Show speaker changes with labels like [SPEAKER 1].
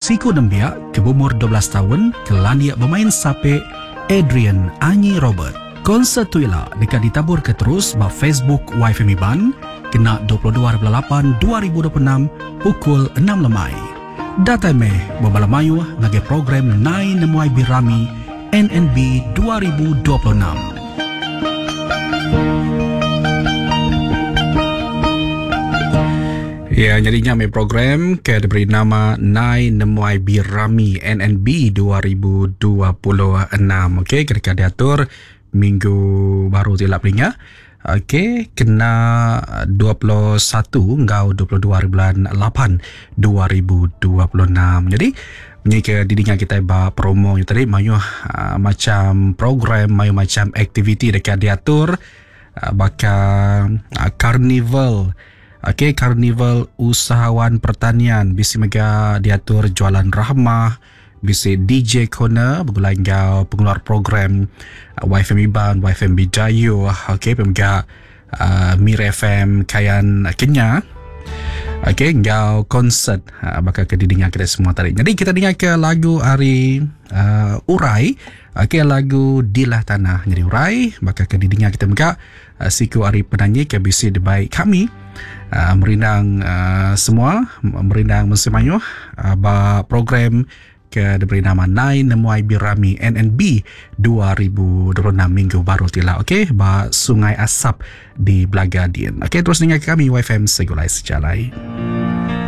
[SPEAKER 1] Siku nembiak ke beumur 12 taun ke landik bemain sape Adrian Anyi Robert. Konsert tu ila deka ditaburka terus ba Facebook YFM Iban kena 22 hari bulan lapan 2026 pukul enam lemai. Datai meh bebala mayuh ngagai program Nai Nemuai Birami NNB 2026. Ya, nyadi nya meh program ke diberi nama Nai Nemuai Birami NNB 2026. Okey, ke deka diatur minggu baru ti ila peninga. Okey, kena 21 enggau 22 hari bulan 8 2026. Jadi, ni ke didinga kitai ba promo nya tadi mayuh uh, macam program, mayuh macam aktiviti deka diatur uh, baka uh, karnival Okey, Karnival Usahawan Pertanian bisi mega diatur Jualan Rahmah, bisi DJ Corner begulai enggau pengeluar program uh, YFM Iban, YFM Bidayu, okey, mega uh, Mir FM Kayan Kenya. Okey, enggau konsert uh, baka ke didinga kita semua tadi. Jadi kita dengar ke lagu ari uh, Urai, okey lagu Dilah Tanah. Jadi Urai baka ke didinga kita mega Siku ari penanyi ke bisi dibai kami merindang semua merindang mensia mayuh ba program ke diberi nama Nai Nemuai Birami NNB 2026 minggu baru ti ila okey ba Sungai Asap di Belaga din. Okey terus ninga kami YFM Segulai Sejalai.